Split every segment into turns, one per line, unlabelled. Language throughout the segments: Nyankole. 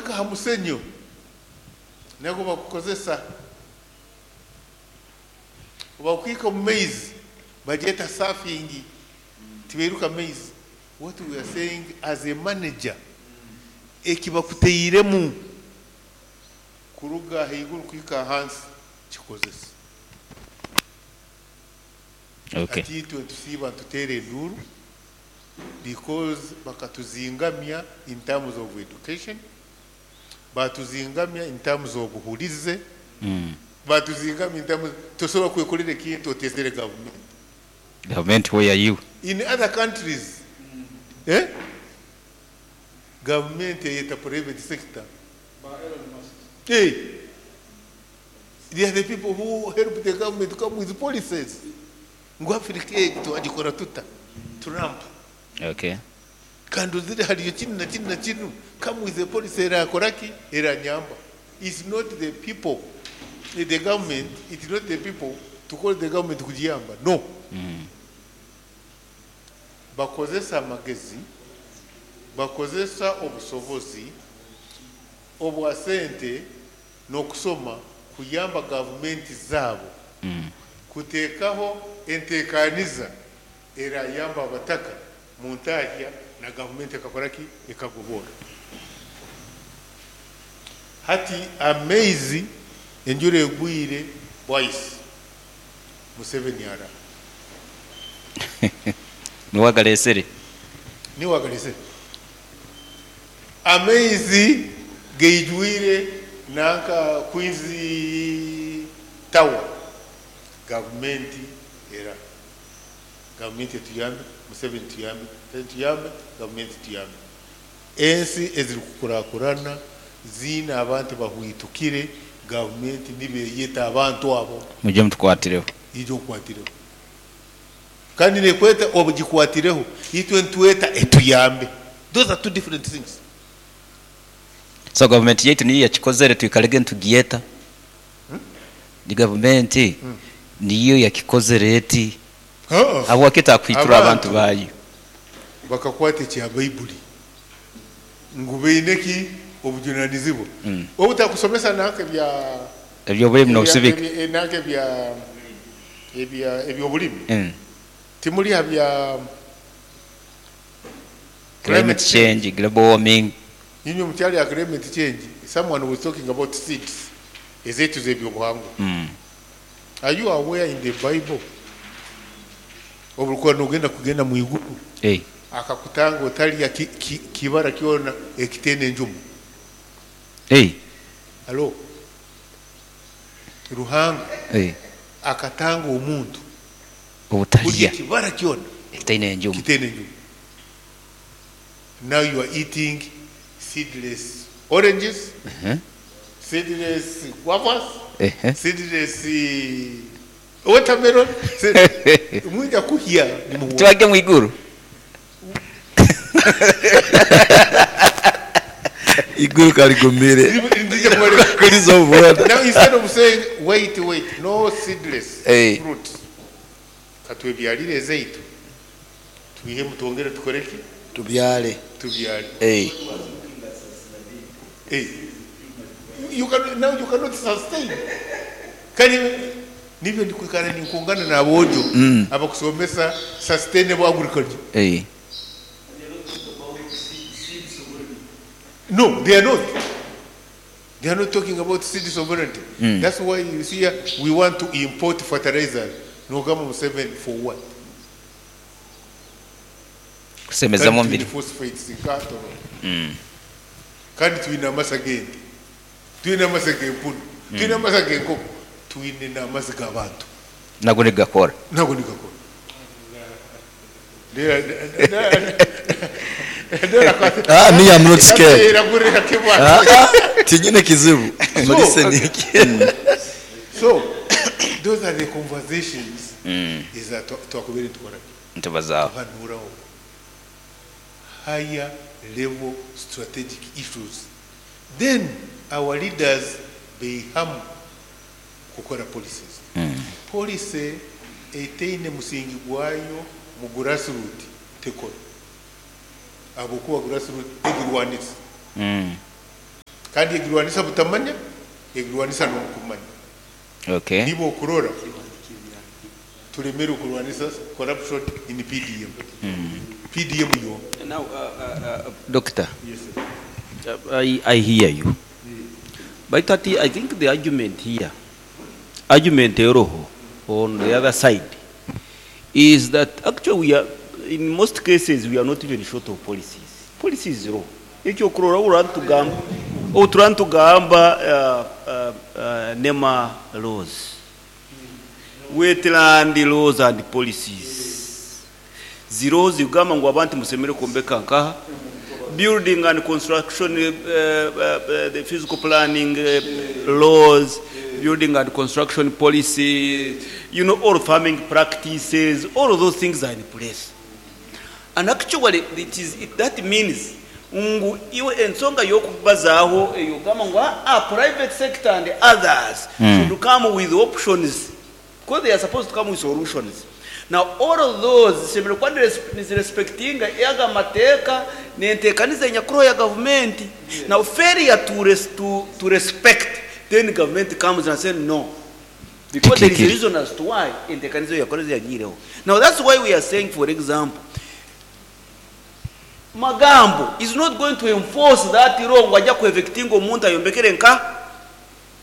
bakuhika aha musenyo nagwo bakukozesa, obu bakuhika omu maizi bagyeta surfing, tibairuka maizi. What we are saying as a manager, eki bakuteiremu kuruga ahaiguru kuhika ahansi kikozese.
Okay.
Hati itwe nitusiiba nituteera enduuru because bakatuzingamya in terms of education, baatuzingamya in terms of buhurize, baatuzingamya in terms, tosobola kwekorera ekintu oteezire gavumenti.
Gavumenti where are you?
In other countries, eh, gavumenti eyeta private sector. Eh, they are the people who help the government to come with policies. Ngu Africa egi twagikora tuta? Trump.
Okay.
Kandi ozire hariyo kinu na kinu na kinu, come with a policy erakora ki? Eranyamba. It's not the people, the government, it's not the people to call the government kugiyamba. No. Bakozesa amagezi, bakozesa obusobozi obwa sente n'okusoma kuyamba gavumenti zaabo kuteekaho enteekaniza erayamba abataka mu ntahya na gavumenti ekakora ki? Ekagoboora. Hati amaizi enjura egwire bwaisi, Museveni araha?
Niwe agareesire.
Niwe agareesire. Amaizi gaijwire nanka Queens Tower, gavumenti eraha? Gavumenti etuyambe, Museveni tuyambe, Museveni tuyambe, gavumenti tuyambe. Ensi ezirikukurakurana ziine abantu bahwitukire, gavumenti nibo eyeta abantu abo.
Mwije mutukwatireho.
Ija okukwatireho. Kandi nekweta ogikwatireho, itwe nitweta etuyambe. Those are two different things.
So gavumenti yaitu niyo yakikozere twikarege nitugyeta? Ni gavumenti niyo yakikozere eti? Habwaki etakuhwitura abantu
Abantu
baayo?
bakakwata ekya Baibuli ngu baine ki? Obujunanizibwa. Obutakusomesa nanka ebya
Eby'obulimi n'obusibika.
Nanka ebya ebya eby'obulimi timuri ha bya
Climate change, global warming.
Inywe mukyari aha climate change, someone was talking about seeds ezaitu z'ebyobuhangwa. Are you aware in the bible obu orikuba nogenda kugenda mu iguru akakutanga otarya kibara kyona ekitaine enjuma? Halo? Ruhanga akatanga omuntu kurya
Obutarya
ekibara kyona
ekitaine enjuma.
Kitaine enjuma. Now you are eating seedless oranges, seedless guavas, seedless watermelon, mwija kuhya nimuhwa.
Twage mu iguru.
Iguru karigumire kuriza obuboda.
Now instead of saying wait wait no seedless
Hey.
fruit, katwebyarire ezaitu twihemu twongere tukore ki?
Tubyare.
Tubyare.
Hey.
Hey. You can, now you cannot sustain. Kari nibyo ndikwikara ninkungana n'aboojo abakusomesa sustainable agriculture.
Hey.
No, they are not. They are not talking about seed sovereignty. That's why you see here, we want to import fertilizer. Nogamba Museveni for what?
Kusemezamu
Kandi
omubiri.
twine phosphates nkatono. Kandi twine amasa g'ente. Twine amasa g'empunu. Twine amasa g'enkoko. Twine n'amasa g'abantu.
Nago nigakora.
Nago nigakora.
Ah, me I'm not scared.
Ah,
Ah, ah, tinyine kizibu. Muri
So- So, those are the conversations eza twakubere tukora
Ntibazaaho.
tuhanuraho higher level strategic issues. Then our leaders beihamu kukora policies. Policy etaine musingi gwayo mu grassroot tekora. Ahabw'okuba grassroot egirwanisa. Kandi egirwanisa butamanya, egirwanisa n'omu kumanya.
Okay.
Niba okurora tulemere okurwanisa corruption in PDM. PDM yo.
Now, Doctor,
Yes, sir.
I hear you. But I think the argument here, argument eroho on the other side, is that actually we are, in most cases, we are not even short of policies. Policies zero. Ekyo kurora urantugamba, uturantugamba NEMA laws, wetland laws and policies. Zero zigamba ngu abantu musemere kuombeka nkaha, building and construction, the physical planning laws, building and construction policy, all farming practices, all of those things are in place. And actually, that means ngu iwe ensonga y'okubazaaho eyo gamba ngu private sector and others should come with options, because they are supposed to come with solutions. Now all of those zishemereire kuba nizirespectinga yaga mateeka nenteekaniza enyakuru ya gavumenti. Now failure to respect, then government comes and say no, because there is a
Tikiri.
reason as to why enteekaniza yakoze yagiireho. Now that's why we are saying, for example, Magambo is not going to enforce that law ngu ajja kuevictinga omuntu ayombekere nka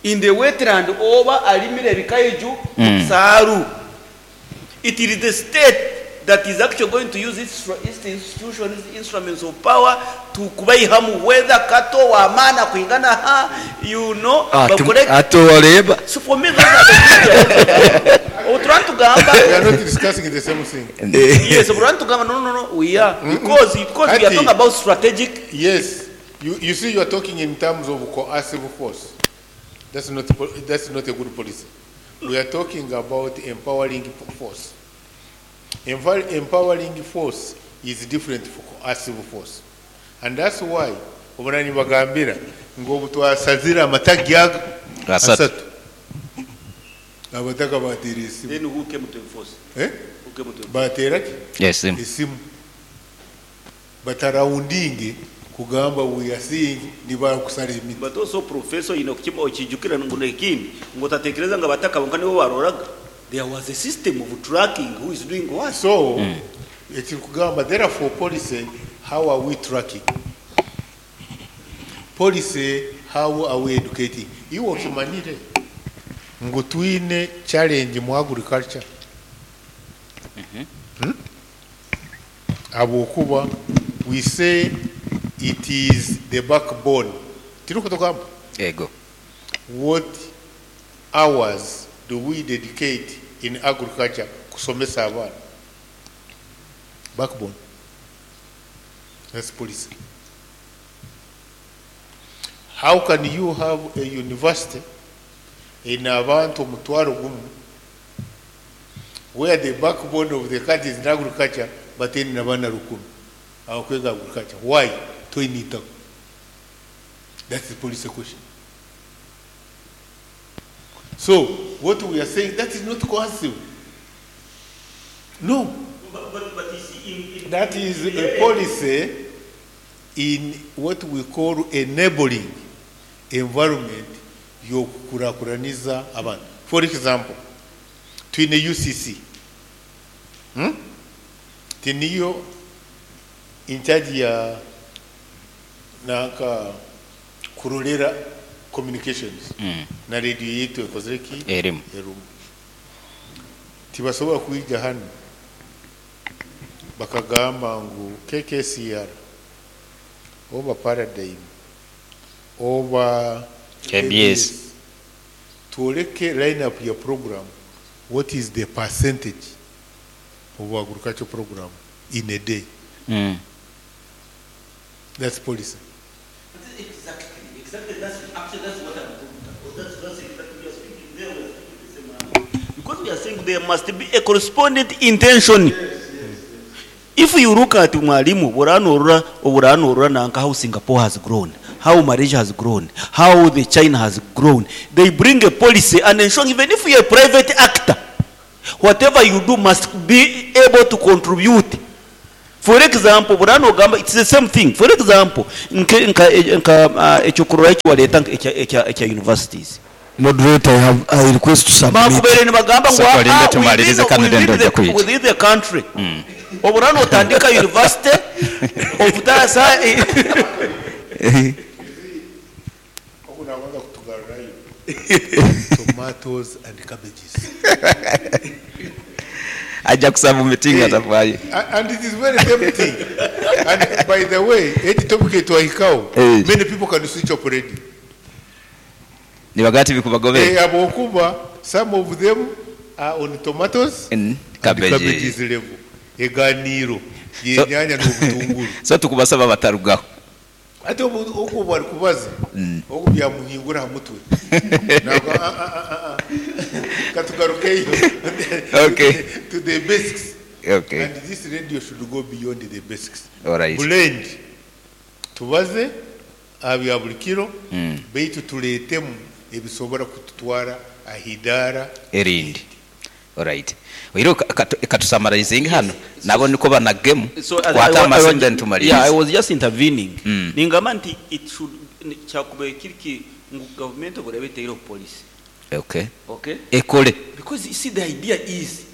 in the wetland oba alimire ebikaiju saaru. It is the state that is actually going to use its institutions, instruments of power to kubaihamu, whether kato wamana kuingana ha bakore.
Atowareba.
So for me, those are the things. Oturantugamba.
We are not discussing the same thing.
Yes, oturantugamba. No, no, no, we are, because we are
Ati.
talking about strategic.
Yes, you see, you are talking in terms of coercive force. That's not a good policy. We are talking about empowering force. Empowering force is different from coercive force. And that's why obonani bagambira ngo obu twasazire amatagi aga
Asatu.
asatu. Abataka batera esimu.
Then who came to enforce?
Eh?
Who came to enforce?
Batera ki?
Yes.
Esimu. Bataraundinge kugamba we are seeing nibakusara emiti.
But also, professor, kima okijukira ngu nekindi ngu otatekereza nga bataka bonka nibo baroraga. There was a system of tracking who is doing what.
So ekiri kugamba, therefore policy, how are we tracking policy? How are we educating? Iwe okimanyire ngu twine challenge mu agriculture. Habwokuba we say it is the backbone, tiri kutugamba.
Ego.
What hours do we dedicate in agriculture kusomesa abaana? Backbone, that's policy. How can you have a university in abantu 500,000 where the backbone of the country is in agriculture, but in abaana 1,000 abakwega agriculture? Why toyinitako? That's the policy question. So what we are saying, that is not coercive. No.
But you see, in
That is a policy in what we call enabling environment y'okukurakuraniza abantu. For example, twine UCC. Tiniyo in charge ya nanka kurolera communications na radio yetu ekozere ki?
Erimu.
Erumu. Tibasobola kwija hano bakagamba ngu KKCR oba Paradigm oba
KBS.
Tuoleke line up ya program, what is the percentage of agriculture program in a day? That's policy.
Exactly. That's actually that's what I'm talking about. That's exactly we are speaking there. We are speaking the same language. Because we are saying there must be a correspondent intention. If you look at Mwalimu, Buranorura, Buranorura, nanka how Singapore has grown, how Malaysia has grown, how the China has grown, they bring a policy and ensure even if you are a private actor, whatever you do must be able to contribute. For example, burano ogamba it's the same thing. For example, nke nka nka ekyokurora eki waleeta ekya ekya ekya universities.
Moderator, I have I request to submit.
Bakubaire nibagamba ngu
Sooka olinde
ah,
tumalirize
within,
kanu then
within,
ojja
the,
kwija.
within the country. Oburano otandika university obutasa
Ogu nabanza kutugarurayo tomatoes and cabbages.
Ajja kusaba meeting atafaayo.
And it is very tempting. And by the way, eti topic etwahikaho,
Eh.
many people can switch off already.
Nibagaa tibikubagobera.
Eh, habwokuba some of them are on tomatoes and
Cabbage.
cabbages level. Eganiiro yenyanya n'obutunguru.
So tukubasaba batarugaho.
Ate obu ogu bari kubaza ogu byamuhingura aha mutwe. Ntabwo ah, ah, ah, ah, ah. Katugarukeyo.
Okay.
To the basics.
Okay.
And this radio should go beyond the basics.
All right.
Blend. Tubaze aha bya buri kiro beitu tureetemu ebisobora kututwara ahidaara
Erindi. All right. Oiro katusummarizinge hano. Nabo niko banagemu.
So as
Kwata
I
amasimu
was-
then tumalirize.
Yeah, I was just intervening. Ningamba nti it should kyakubaire kiri ki ngu government oburabe eteireho policy.
Okay.
Okay?
Ekole.
Because you see the idea is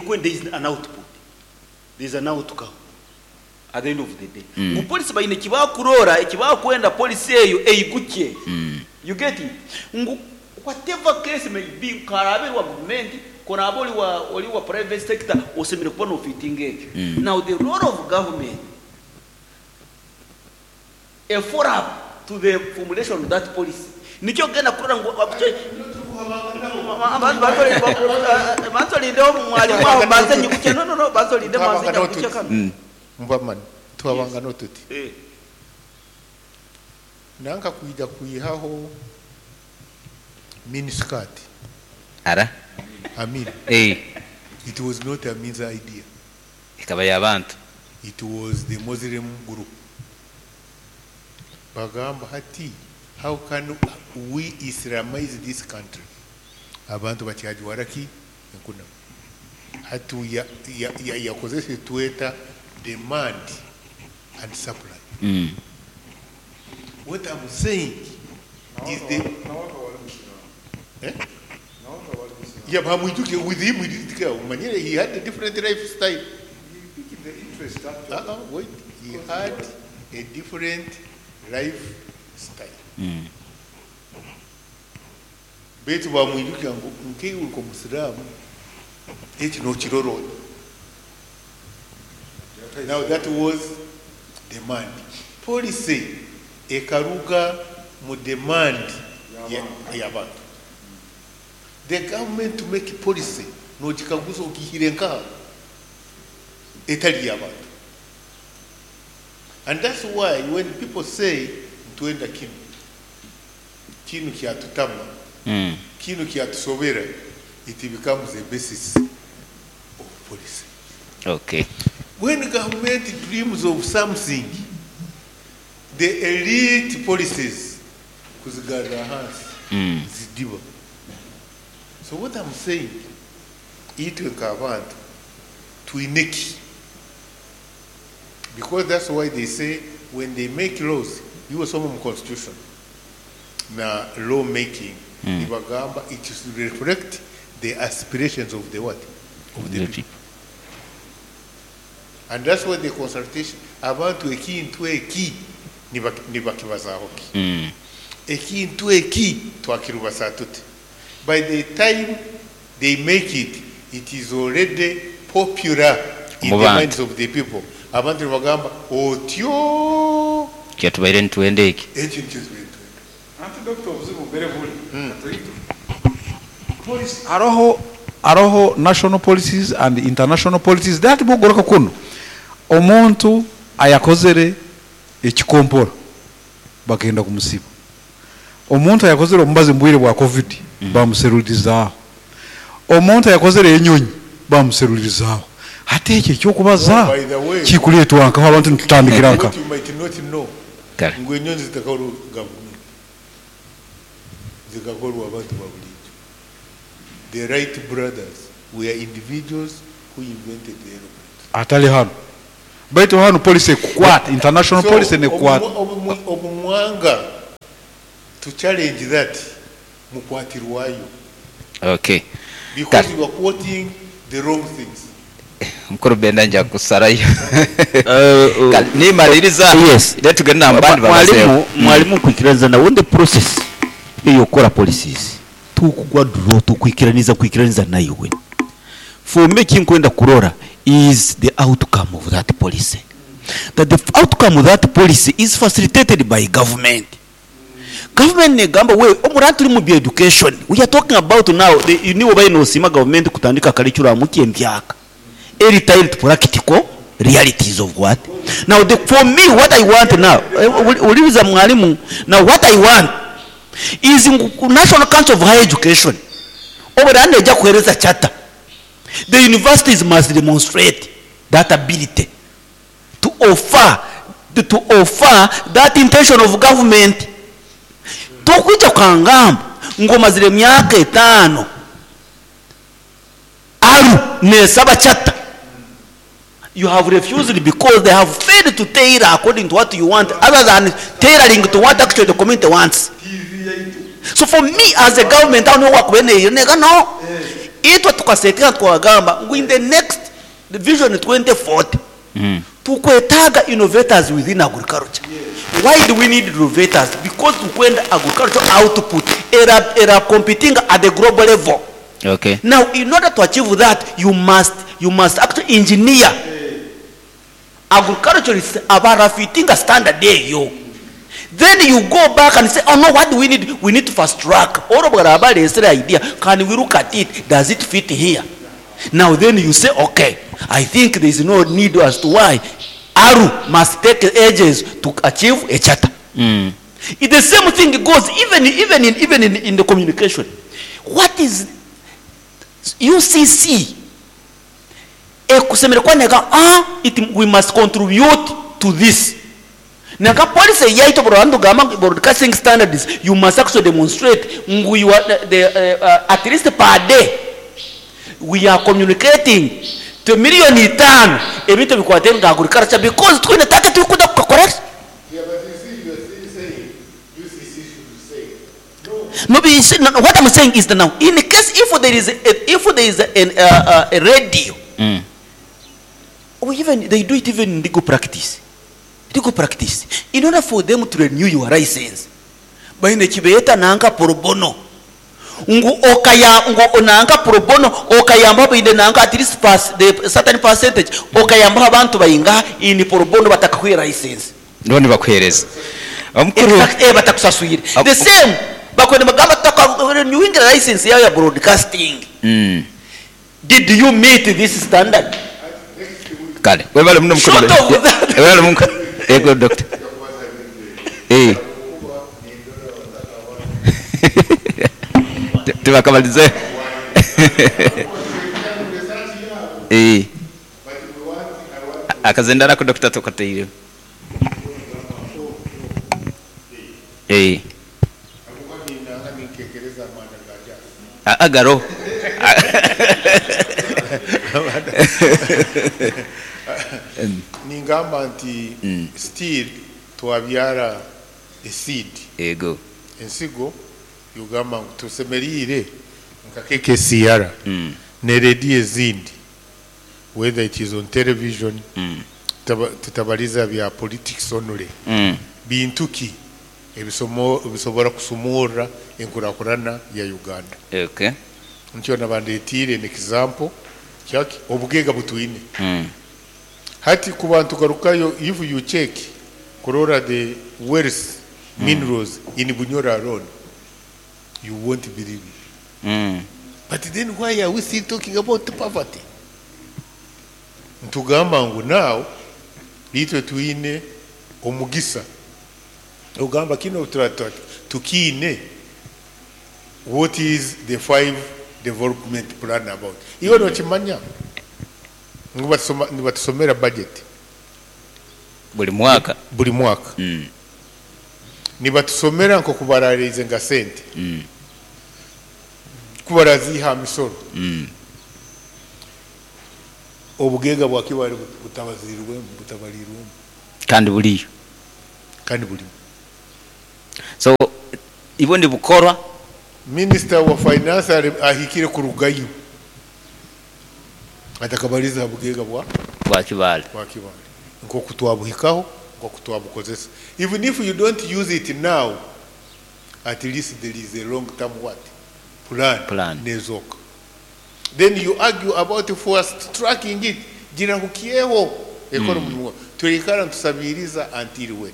when there is an output, there is an outcome at the end of the day. Ngu policy baine ekibakurora, ekibakwenda policy eyo eigukye. You get it? Ngu whatever case may be, karabe wa government, korabe oli wa oli wa private sector, osemere kuba no fitting ekyo. Now the role of government a follow up to the formulation of that policy. Nikyo genda kurora ngu bansolindeho mwalimu aho mbanze nyiguke no no no bansolinde mbanze nyiguke kano.
Mbamani twabangana tuti
Eh,
nanka kwija kwihaho miniskirt.
Ara.
Amin.
Eh.
It was not Amin's idea.
Ikaba y'abantu.
It was the Muslim group. Bagamba hati, how can we Islamize this country? Abantu bakyajwara ki enkuna. Hati yakozesa tweta demand and supply. What I'm saying is the Eh? Yeah, but Mwijuke, with him, we didn't care. Umanyire, he had a different lifestyle. Uh-uh, wait. He had a different lifestyle. Beitu bamwijuka ngu nkeiwe nko musiraamu eki nokirorora. Now that was demand. Policy ekaruga mu demand y'abantu. The government to make policy nokikaguza okihire nkaha etali y'abantu. And that's why when people say ntwenda kinu, kinu kyatutama, kinu kyatusobera, it becomes a basis of policy.
Okay.
When government dreams of something, the elite policies kuzigarra hansi zidiba. So what I'm saying, itwe nk'abantu twine ki? Because that's why they say when they make laws, you wasoma mu constitution na law making, nibagamba it should reflect the aspirations of the what? Of the
The
people. And that's why the consultation, abantu ekintu eki nibakibazaho ki. Ekintu eki twakirubasa tuti. By the time they make it, it is already popular in
Mu
the
bantu.
minds of the people. Abantu nibagamba otyo
Kyatubaire nitwenda eki.
eki nikyo tubaire nitwenda.
Anti doctor obuzibu mbere buri. Policy aroho aroho national policies and international policies that bugoroka kuno. Omuntu ayakozere ekikompora bagenda kumusiba. Omuntu ayakozere omubazi mbwire bwa COVID bamuserulirizaaho. Omuntu ayakozere enyonyi bamuserulirizaaho. Ate ekyo ekyokubaza
By the way,
kikuleetwa nkaho abantu nitutandikira nka.
What you might not know,
Kale.
ngu enyonyi zitakorwa gavumenti, zikakorwa abantu ba bulijjo. The Wright brothers were individuals who invented the aeroplane.
Atali hano. Baitu hanu policy ekukwata, international
So,
policy nekukwata.
obu mwanga to challenge that, mukwatirwayo.
Okay.
Because you are quoting the wrong things.
Mukuru Benda nja kusarayo. Kale, nimaliriza.
Yes.
Then tugende nambandi
Mwalimu,
babazeho.
mwalimu nkwikiraniza nawe the process eyokukora policies tukugwa draw tukwikiraniza kwikiraniza naiwe. For me kinkwenda kurora is the outcome of that policy. That the outcome of that policy is facilitated by government. Government negamba we omura turi mu education. We are talking about now the niwe bayi nosima government kutandika curriculum kyembyaka. Eri tile to practical realities of what? Now the, for me what I want now, uliza mwalimu, now what I want is National Council of Higher Education. Obera neja kuhereza charter. The universities must demonstrate that ability to offer, to offer that intention of government. Tokuja kangamba ngoma zile myaka 5 aru nesaba charter. You have refused because they have failed to tailor according to what you want, other than tailoring to what actually the community wants. So for me as a government, I don't know what we no. Itwa tukasetia tukagamba in the next the vision 2040 tukwetaga innovators within agriculture. Why do we need innovators? Because tukwenda agriculture output era competing at the global level.
Okay.
Now in order to achieve that, you must actually engineer agriculture is abarafitinga standard eyo. Then you go back and say, oh no, what do we need? We need to fast track. All of our idea, can we look at it? Does it fit here? Now then you say, okay, I think there is no need as to why ARU must take ages to achieve a charter. It, the same thing goes even in the communication. What is UCC? Ekusemere kwa nega, it, we must contribute to this. Naka policy yaito broadcasting gama broadcasting standards, you must actually demonstrate ngu you are the, at least per day we are communicating to million 5 ebintu bikwate agriculture because twine target tukuda correct.
Yeah, but you see, you are still saying UCC should say no.
No, but you see, no, no, what I'm saying is that now, in case if there is a, if there is an, a radio, or even they do it even in legal practice. Legal practice. In order for them to renew your license, baine kibeeta nanka pro bono. Ngu okaya ngu nanka pro bono okayamba baine nanka at least pass the certain percentage okayamba abantu bayinga in pro bono batakakuha license.
None bakuhereza. Omukuru
Exact, batakusaswire. The same bakwene bagamba tutaka renewing license yayo ya broadcasting. Did you meet this standard?
Kale, webale muno mukuru.
Short of that.
Webale mukuru. Ego doctor. Tubakamalize. Akazendana ku doctor tukateire. Agaro.
Ningamba nti still twabyara a seed.
Ego.
Ensigo yugamba ngu tusemerire nka KKCR ne radio ezindi, whether it is on television, tutabaliza bya politics only. Bintu ki ebisobora kusumura enkurakurana ya Uganda.
Okay.
Nkyo nabandetire an example kyaki obugega butwine. Hati ku bantu garukayo, if you check kurora the wealth minerals in Bunyoro alone, you won't believe it. But then why are we still talking about poverty? Ntugamba ngu now itwe twine omugisa. Ugamba kino tukine what is the 5 development plan about? Iwe nokimanya ngu nibatusomera budget
buli mwaka.
Buli mwaka. Nibatusomera nko kubararize nga sente. Kubaraziha misoro. Obugaiga bwa Kibaale butabaziirwemu, butabariirwemu.
Kandi buriyo.
Kandi burimu.
So ibwo nibukorwa.
Minisita wa Finance ahikire kurugayo atakabarize aha bugaiga bwa.
Bwa Kibaale.
Bwa Kibaale nk'oku twabuhikaho, nk'oku twabukozesa. Even if you don't use it now, at least there is a long term what? Plan.
Plan.
Nezooka. Then you argue about fast tracking it, girahukyeho ekore omurimo gwayo. Twikara nitusabiiriza until when?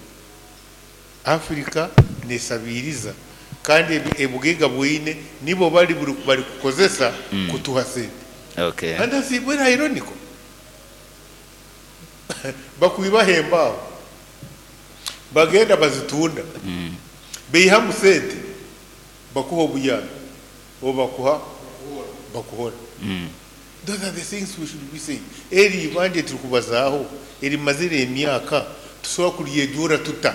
Africa nesabiiriza kandi ebugaiga bweine nibo bari barikukozesa kutuha sente.
Okay.
And that's very ironical. Bakwibaho embaaho, bagenda bazitunda, baihamu sente, bakuha obuyambi oba bakuha bakuhora. Those are the things we should be saying. Eri ibanja eturikubazaaho erimazire emyaka tusobola kuryejuura tuta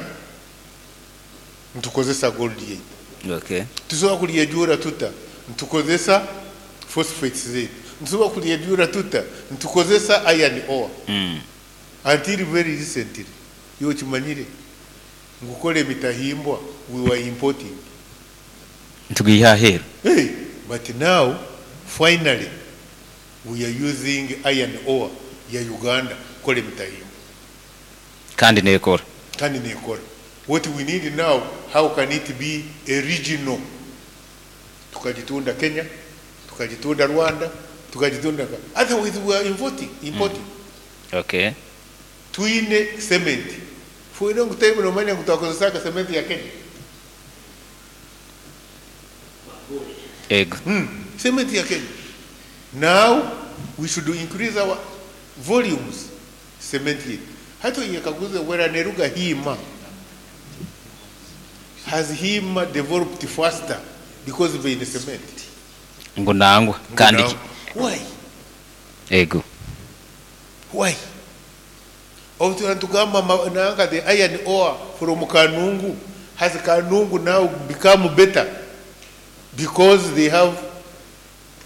nitukozesa gold yaitu?
Okay.
Tusobola kuryejuura tuta nitukozesa phosphates zaitu? Nitusobola kuryejuura tuta nitukozesa iron ore? Until very recently, iwe okimanyire ngu kukora emitahimbwa we were importing.
Nitugiiha aheeru.
Hey, but now finally we are using iron ore ya Uganda kukora emitahimbwa.
Kandi nekora.
Kandi nekora. What we need now, how can it be a regional? Tukagitunda Kenya, tukagitunda Rwanda, tukagitunda ka. Otherwise we are importing, importing.
Okay.
Twine cement. For a long time nomanya ngu twakozesaga cement ya Kenya.
Ego.
Cement ya Kenya. Now we should increase our volumes cement yaitu. Hati oyekaguze wera neruga Hima. Has Hima developed faster because baine cement?
Ngu nangwa.
Ngu
Kandi
nangwa. Why?
Ego.
Why? Obu tuba nitugamba nanka the iron ore from Kanungu, has Kanungu now become better because they have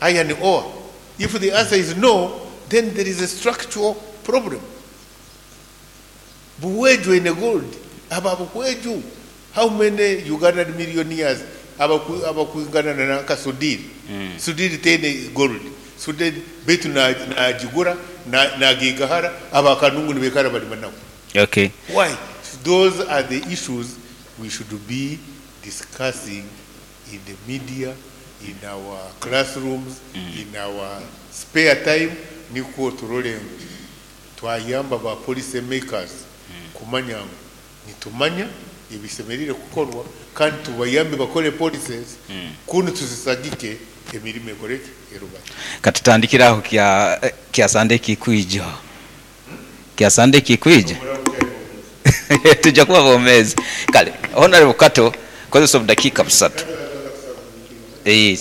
iron ore? If the answer is no, then there is a structural problem. Buhweju eine gold, aba Buhweju, how many Ugandan millionaires abakwingana na nanka Sudhir? Sudhir teine gold. Sudhir beitu nagigura, nagigahara, aba Kanungu nibekara bari nawe.
Okay.
Why? Those are the issues we should be discussing in the media, in our classrooms, in our spare time, nikwo turore ngu twayamba ba policy makers kumanya ngu nitumanya ebisemerire kukorwa kandi tubayambe bakore policies kunu tuzisagike emirimo ekoreke erubate.
Katutandikire aho kya kya Sunday kikwija. Kya Sunday kikwija. Tujja kuba bomezi. Kale, Honorable Kato, kozesa obudakiika busatu.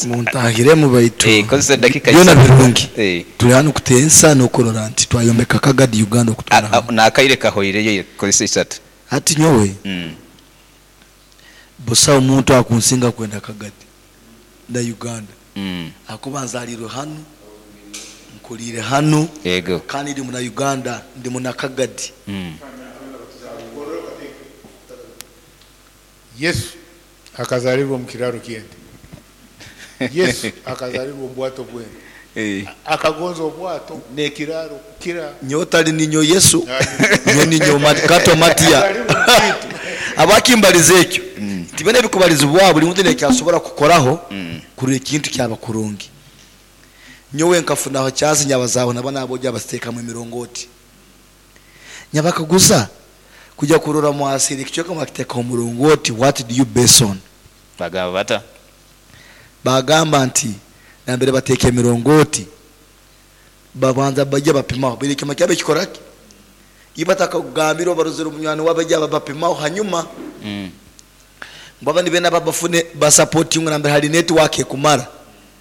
Muntahiremu baitu
Kozesa edakiika
byona
isatu.
birungi. Turi hanu kutensa n'okurora nti twayombeka Kagadi Uganda okutwara hamwe.
N'akaire kahoireyo kozesa isatu.
Hati nyowe busaho omuntu akunsinga kwenda Kagadi na Uganda. Ahakuba nzarirwe hanu, nkuriire hanu,
Yego.
kandi ndi muna Uganda, ndi muna Kagadi.
Yesu akazarirwa omu kiraro ky'ente. Yesu akazarirwa omu bwato bw'ente. Akagonza obwato n'ekiraro kukira.
Nyowe tari ninyo Yesu, nyowe ninyo Kato Matia. Abakimbariza ekyo, tibene ebikubarizibwa buri muntu nekyasobora kukoraho kurora ekintu kyaba kurungi. Nyowe nkafunaho kyansi nyabazaho naba nabojja basiteekamu emirongoti. Nyabakaguza kujya kurora mwasiri ekicweka mwakiteekaho omurongoti, what do you base on?
Bagamba bata?
Bagamba nti nambere bateeka emirongoti babanza bajya bapimaho buri kyoma kyabe kikora ki? Iyo batakagambira barozera omunywani wabo bajya bapimaho hanyuma baba nibe naba bafune basupporting nambere hari network ekumara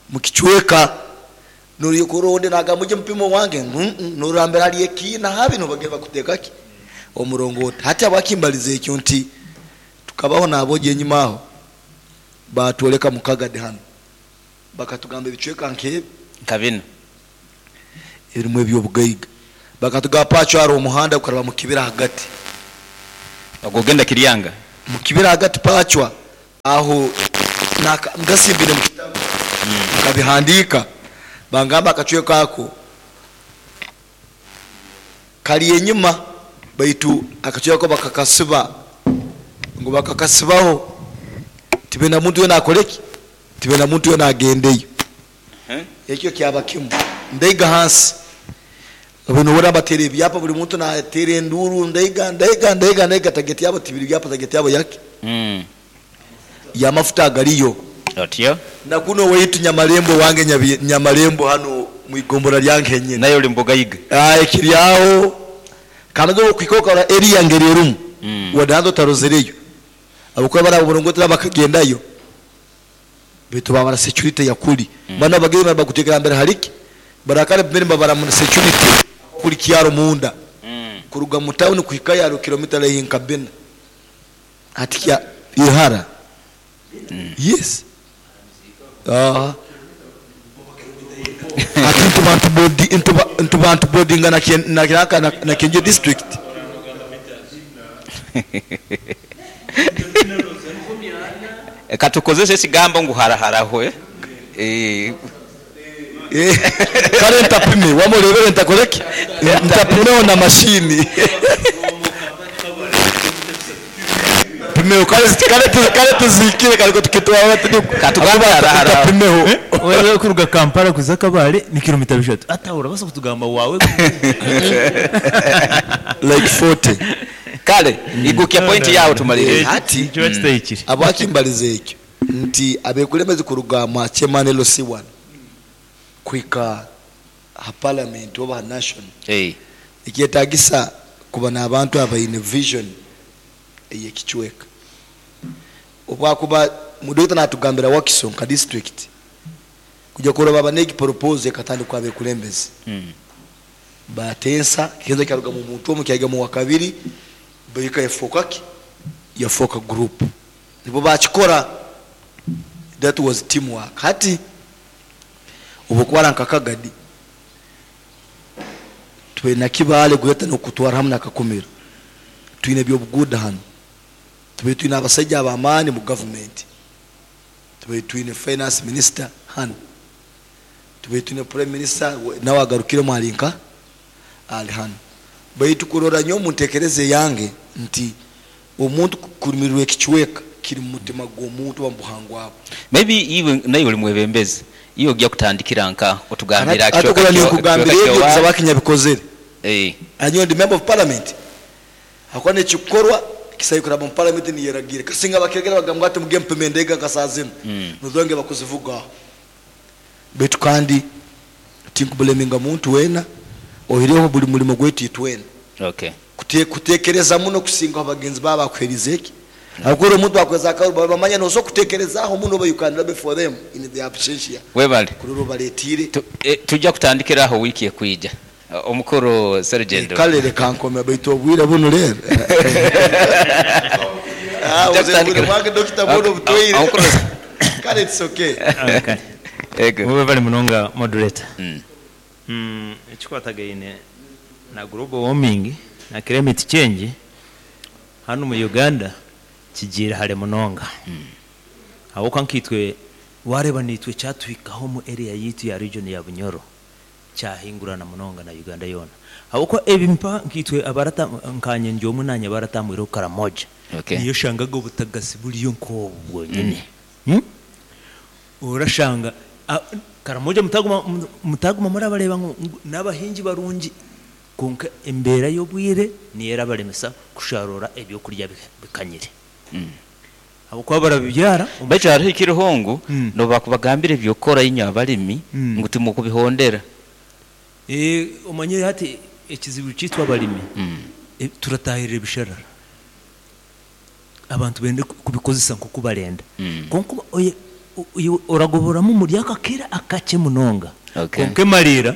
mukicweka nuri kuronde naga muje mpimo wange nurambere hari ekina habi no bagenda bakuteka ki omurongoti. Hati abakimbalize ekyo nti tukabaho nabo je nyuma aho batwoleka mukagade hano bakatugamba ebicweka nke
nka bino.
Erimu eby'obugaiga. Bakatugamba Pacho hariho omuhanda gukaraba mu kibira ahagati.
Ogwo ogenda Kiryanga.
Mu kibira ahagati Pachwa aho naka ngasimbire mu kitabu nkabihandiika bangamba akacweka ako kari enyima baitu akacweka ako bakakasiba ngu bakakasibaho tibenda muntu weena akore ki? Tibenda muntu weena agendeyo. Ekyo kyaba kimu. Ndaiga ahansi, obu nohurra nibateera ebyapa, buri muntu nateera enduuru, ndaiga, ndaiga, ndaiga, ndaiga, tageti yaabo tibiri byapa, tageti yaabo yaki? Y'amafuta agariyo.
Otyo.
Na kunu owaitu Nyamarembo owange Nyabi, Nyamarembo hanu omu igombora ryange henyini.
Nayo ori mubugaiga.
Aah ekiri aho, kandi obu okuhika okarora area ngeri erimu, wade hati otarozereyo, ahabw'okuba bari ababurongotera bakagendayo. Baitu babara security ya kuri banu abagenyi bari bakutekera mbere hari ki barakare mbere nibabara mu security kuri kyaro munda kuruga mu town kuhikayo hariho kilomita raihi nka bina hati kya ihara yes aha hati nituba ntubodi nituba nituba ntubodinga na na na na Kyenjojo district.
Katukozese ekigambo ngu haraharaho eh.
Kare ntapime wama orebere ntakoreki ntapimeho na mashini pimeho kare kare tuzikire kare tukitwara
Katugambe haraharaho.
ntapimeho.
Wewe kuruga Kampala kuza Kabale ni kilomita bishatu ata orabasa kutugamba wawe
Like 40.
Kale igukya point yawe tumalirize.
Hati
Kiba kitahikire.
Habwaki mbalize ekyo nti abekulembezi kuruga mwa chairman LC1 kuhika ha parliament oba ha national nikyetagisa kuba n'abantu abaine vision ey'ekicweka. Obwakuba Dokita natugambira Wakiso nka district kuja kurora baba n'egi proposal ekatandikwa abekulembezi batensa kigenza kyaruga mu muntu omu kyaiga mu wakabiri bahika yafoka ki? Yafoka group. Nibo bakikora that was team work. Hati obwokwara nka Kagadi twine na Kibale gweta nokutwara hamu na Kakumiro twine ebyobuguuda hanu tubaire twine abasaija abamani mu government tubaire twine finance minister hanu tubaire twine prime minister nawe agarukiremu ari nka ari hanu baitu kurora nyowe omuntekereza eyange nti omuntu kurumirirwa ekicweka kiri mumutima gw'omuntu oba mubuhangwa bwe.
Maybe iwe naiwe ori mwebembezi iwe ogya kutandikira nka otugambire aha
Hati
kicweka
okurora ninkugambira
kicweka
ebyo
ky'owaanyu.
kusaba kinyabikozere. Nyowe ndi member of parliament ahakuba nekikukorwa kisaine kuraba omu parliament niyeragiira kasinga bakiregera bagamba ngu hati muge mupime endege nka saaha zinu nozonge bakuzivuga aho baitu kandi tinkubuleminga muntu weena oihireho buri murimo gwaitu itwena. Kutekereza muno kusingaho bagenzi baabo abakuherize ki? Ahabw'okuba omuntu akuherize akaruru baba nibamanya nosobola kutekerezaaho muno oba you can lobby for them in their absentia
Webale.
kurora obaretiire.
Tujja kutandikira aho wiiki ekwija. Omukuru Serugendo.
Kale leka nkome baitu obwire bunu reero.
Tujja kutandikira.
Obwire bwange Dokita bwona obutwaire. Kale it's okay.
Ego.
Webale munonga moderator. Ekikwatagaine na global warming na climate change hanu omu Uganda kigiire hare munonga ahabw'okuba nkaitwe wareeba naitwe kyatuhikaho omu area yaitu ya region ya Bunyoro kyahingurana munonga na Uganda yoona ahabw'okuba ebi mpa nkaitwe abarata nkanye ndi omwe nanye abaratambwireho Karamoja niyo oshangaga obutagasi buriyo nk'obu bwonyine. Orashanga Karamoja mutaguma mutaguma murabareeba ngu n'abahingi barungi kwonka embeera y'obwire niyo erabaremesa kusharuura ebyokurya bikanyire ahabw'okuba barabibyara omu
Baitu hariho ekiriho ngu n'obu bakubagambira eby'okukora inywe abalimi ngu timukubihondera.
Omanyire hati ekizibu kyaitu abalimi turatahirira ebisharara. Abantu bende kubikozesa nk'oku barenda. Kwonka iwe oragoboramu omuri ako akaire akakye munonga. Kwonka emariira,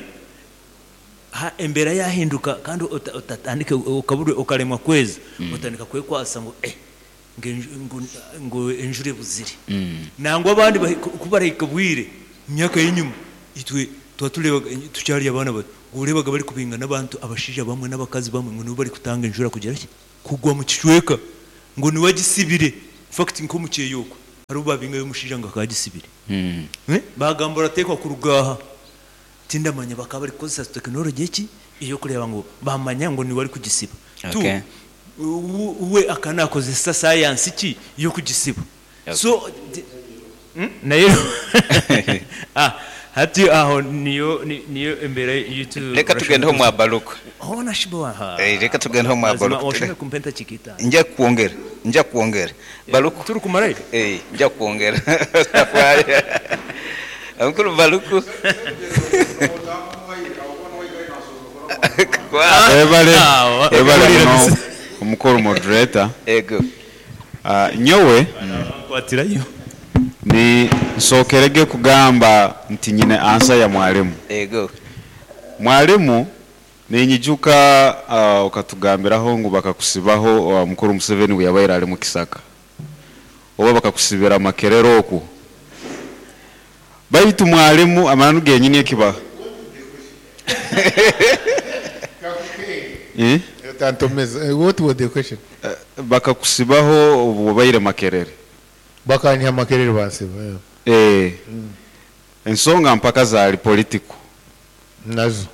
embeera yaahinduka kandi otatandike okaremwa kweza, otandika kwekwatsa ngu eh ngu enjura ebuzire. Nangwa abandi ku barahika bwire, omu myaka y'enyima, itwe twatureebaga tukyari abaana bato. Oreebaga barikubinga n'abantu abashaija bamwe n'abakazi bamwe ngu nibo barikutanga enjura kugira ki? Kugwa mu kicweka ngu niwe agisibire. In fact nk'omu kyeya okwo hariho obu baabingayo omushaija ngu akaba agisibire. Baagamba orateekwa kuruga aha. Tindamanya bakaba barikukozesa tekinologi ki ey'okureeba ngu baamanya ngu niwe arikugisiba. Tu, we akaba naakozesa sayansi ki y'okugisiba? So, nayo hati aho niyo niyo embeera ei
Reka tugendeho mwa Baluku.
Hoona shi bo aha.
Reka tugendeho mwa
Mazima
Baluku.
oshobe kumpa entakiika itaano.
Nja kukwongera, nja kukwongera. Baluku.
Turikumarayo?
Nja kukwongera. Otafaayo. Omukuru Baluku.
Webale, webale muno omukuru moderator.
Ego.
Nyowe
Nkwatirayo.
ni nsookerege kugamba nti nyine answer ya mwalimu.
Ego.
Mwalimu ninyijuka okatugambiraho ngu bakakusibaho mukuru Museveni buyabaire ali mukisaka oba bakakusibira Makerere okwo. Baitu mwalimu amananu genyini ekiba Eh?
Otantomeza. What was the question?
Bakakusibaho obu obaire Makerere.
Bakanyiha Makerere bansiba. Yeah.
Eh. Ensonga mpaka zaali political.
Nazo.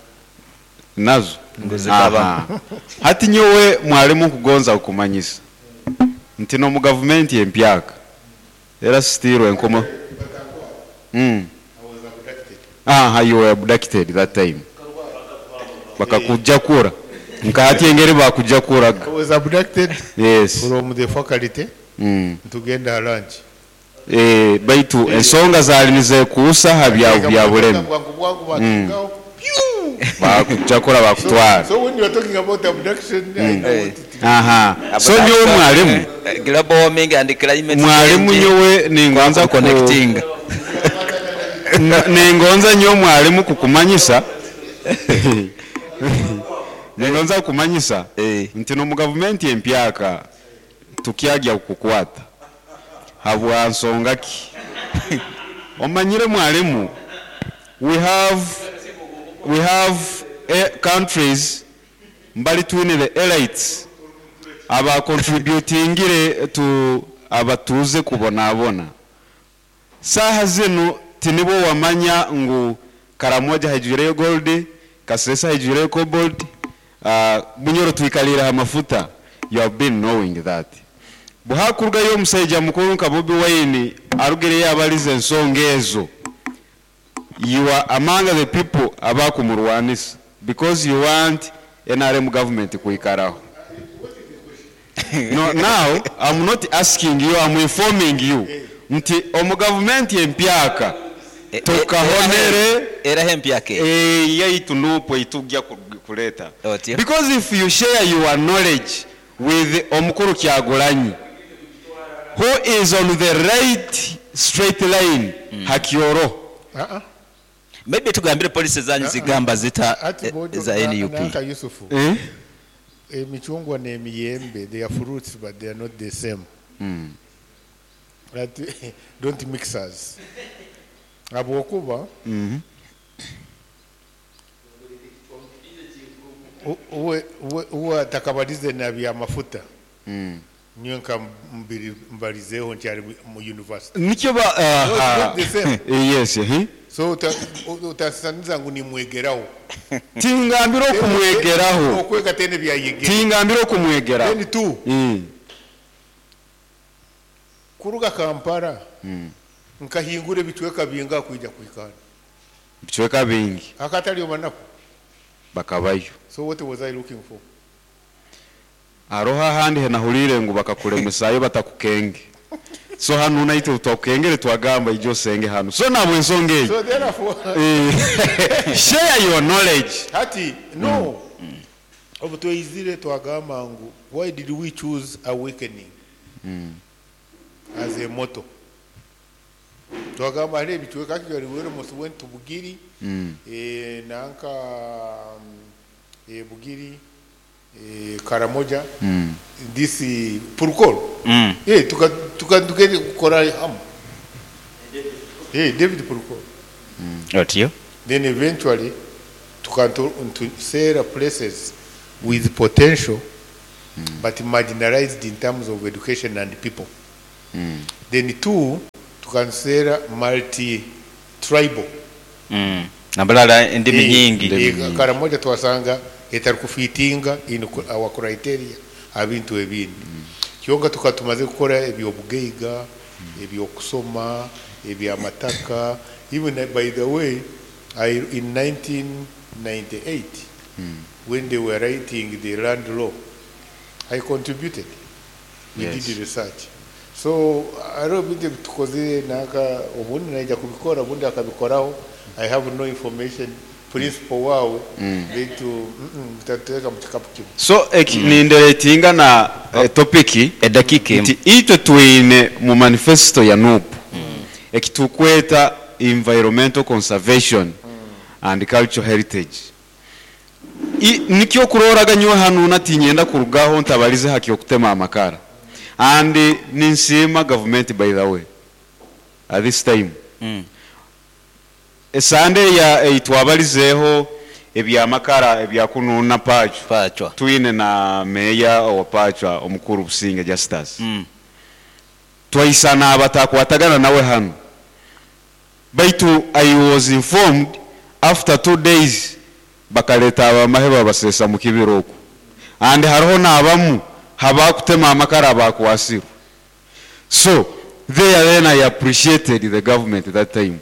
Nazo.
Ngu zikaba.
Aha. Hati nyowe mwalimu nkugonza kukumanyisa nti n'omu gavumenti empyaka era still enkomo. Aha, you were abducted that time. Bakakujakura. Nka hati engeri bakujakuraga.
I was abducted
Yes.
from the faculty tugenda lunch.
Eh, baitu ensonga zaali nizekuusa ha bya bya bulemi.
Bwangu bwangu bakingaho.
Bakujakura bakutwara.
So when you are talking about abduction, I know what it is.
Aha. So nyowe mwalimu,
Global warming and climate
mwalimu
change.
nyowe ningonza ku
Connecting.
Ningonza nyowe mwalimu kukumanyisa. Ningonza kukumanyisa nti n'omu gavumenti empyaka tukyagya kukukwata habwa nsonga ki? Omanyire mwalimu, we have countries mbali twine the elites aba contributingire to abatuze kubonabona. Saha zinu tinibo wamanya ngu Karamoja haijuireyo gold, Kasesa haijuireyo cobalt, Bunyoro twikalira amafuta. You have been knowing that. Buhakurugayo omushaija mukuru nka Bobi Wine arugireyo abalize ensonga ezo. You are among the people abakumurwanisa because you want NRM government kuikaraho. No, now I'm not asking you, I'm informing you. Nti omu government empyaka tukahonere
Eraho empyaka eyo.
Yaitu nupo itujja kuleta.
Otyo.
Because if you share your knowledge with omukuru Kyagulanyi who is on the right straight line, hakioro.
Maybe tugambire policy zanyu zigamba zita
Ati Bojo
za NUP.
Nanka Yusufu.
Eh?
Emichungwa n'emiyembe, they are fruits but they are not the same. That, don't mix us. Habwokuba uwe atakabalize na bya mafuta. Niyo nka mbalizeho nti ali mu university.
Nikyo ba,
No, it's not the same.
Yes, eh?
So utasaniza ngu nimwegeraho.
Tingambira okumwegeraho.
Okwega tene byayegera.
Tingambira okumwegeraho.
Then two. Kuruga Kampala. Nkahingura ebicweka binga kwija kwikana.
Ebicweka bingi.
Akatali omanako.
Bakabayo.
So what was I looking for?
Aroha ahandi henahurire ngu bakakuremesayo batakukenge. So hanu naitwe twakukengere twagamba ijo senge hanu. So nabwe ensonga eyo.
So therefore,
Share your knowledge.
Hati no. Obu tweizire twagamba ngu why did we choose awakening as a motto? Twagamba hariho ebicweka actually we almost went to Bugiri, nanka, Bugiri, Karamoja, this Purukol. Tukagenda kukora hamu. David Purukol.
Otyo.
Then eventually Tukantuseera places with potential but marginalized in terms of education and people. Then two, tukanseera multi tribal.
Nabalala endimi nyingi.
Karamoja twasanga etarikufitinga in our criteria abintu ebindi. Kyonka tukaba tumaze kukora eby'obugaiga, eby'okusoma, ebyamataka. Even by the way, I, in 1998 when they were writing the land law, I contributed. We did research. So hariho ebintu ebi tukozire nanka obundi naija kubikora obundi akabikoraho. I have no information principal waawe beitu mutatuteeka mu kikapu kimwe.
So eki ninderetinga na topic
Edakiika emwe.
nti itwe twine mu manifesto ya NUP ekitukweta environmental conservation and cultural heritage. I, nikyo kuroraga nyowe hanu na tinyenda kurugaho ntabalize haki okutema amakara. And ninsiima government by the way at this time. Esande ya eitwabalizeho ebyamakara ebyakununa Pachwa.
Pachwa.
Twine na meya owa Pachwa omukuru Businge Justus. Twaisana abatakwatagana nawe hanu. Baitu I was informed after 2 days bakaleta abamahe babasesa mu kibira oku. And hariho n'abamu habakutema amakara abakwasirwe. So there then I appreciated the government that time.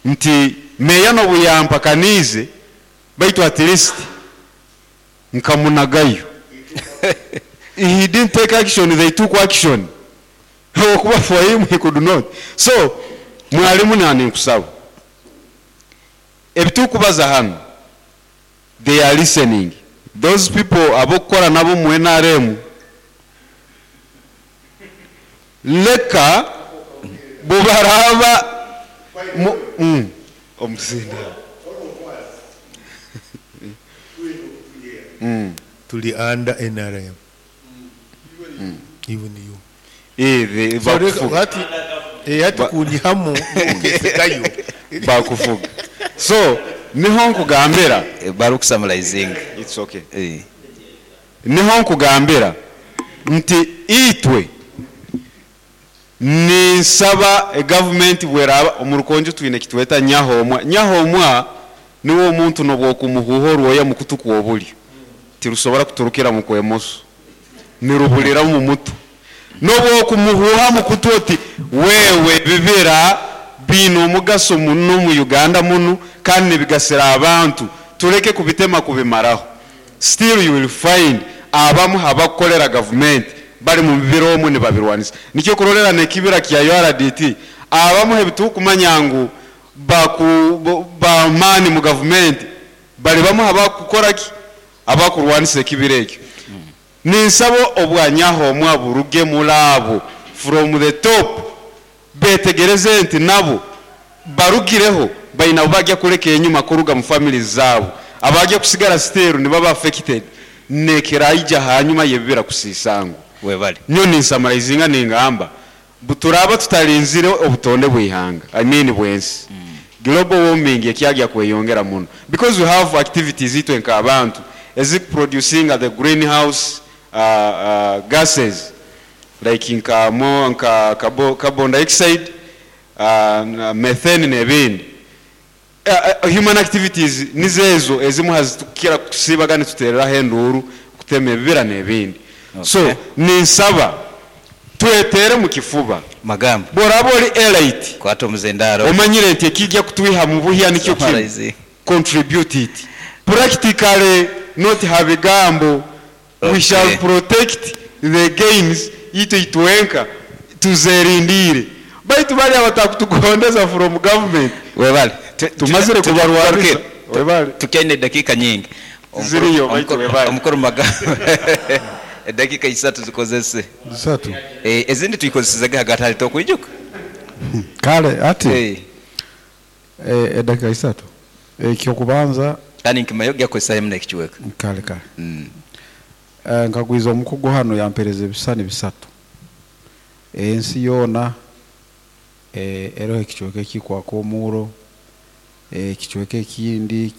Nti meya nobuyampakanize baitu at least nkamunagayo. He didn't take action, they took action. Okuba for him he could not. So mwalimu nani nkusaba ebitukubaza hano, they are listening. Those people abokukora nabo mu NRM, leka bubaraba mu omuzinda.
Tuli under NRM. Even you.
Eh,
So reka
bakufuga.
hati hati kunyihamu ukesekayo.
Bakufuga. So niho nkugambira.
Barukusamalizinga.
It's okay. Niho nkugambira nti itwe ninsaba government bweraba omurukonjo twine kitweta nyahomwa. Nyahomwa niwo omuntu nobwokumuhuho rwoya mukutu kwobulyo tirusobora kuturukira mu kwemoso, nirubulira mu mutu. Nobwokumuhuha mukutu oti wewe bibira bino omugaso muno mu Uganda muno kandi nibigasira abantu, tureke kubitema kubimaraho. Still you will find abamu habakukolera government bari mu bibira omwe nibabirwanisa. Nikyo kurorera nekibira kya URDT abamu ebitukumanya ngu bamani mu government bari bamu habakukora ki abakurwanisa ekibira ekyo. Ninsaba obwanyaho omwa buruge mulabo from the top betegereze nti nabo barugireho baina bajya kureka enyuma kuruga mu families zabo, abajya kusigara still ni baba affected nekeraija hanyuma yebibira kusisango.
Webale.
Nyo ninsamarizinga ningamba buturaba tutarinzire obutonde bwihanga, I mean bwensi. Global warming ekyagya kweyongera muno because we have activities itwe nka abantu ezikuproducing the greenhouse gases like nka mo nka carbon dioxide, methane n'ebindi. Human activities nizezo ezimu hazitukira kusibaga nituterera henduru kutema ebibira n'ebindi. So ninsaba twetere mu kifuba
magambo
boraba ori elite
kwata omuzendaro
omanyire nti ekijja kutwiha mu buhya nikyo kimwe.
Summarize.
Contribute it practically, not habigambo. We shall protect the gains itu itwenka tuzerindire baitu bali abatakutugondeza from government.
Webale.
Tumazire kubarwariza. Webale.
Tukyaine dakika nyingi.
Ziriyo, baitu webale.
Omukuru magambo. Edakika isatu zikozese.
Zisatu.
Ezindi tuyikozesezege hagati hali tokwijuka.
Kale ati. Edakika isatu. Ekyokubanza
kandi nkimayo gyakozesa hemu nekikiweka.
Kale kale. Nkagwiza omukugu hano yampereza ebisani bisatu. Ensi yoona eriho ekichweka ekikwaka omuuro, ekichweka ekindi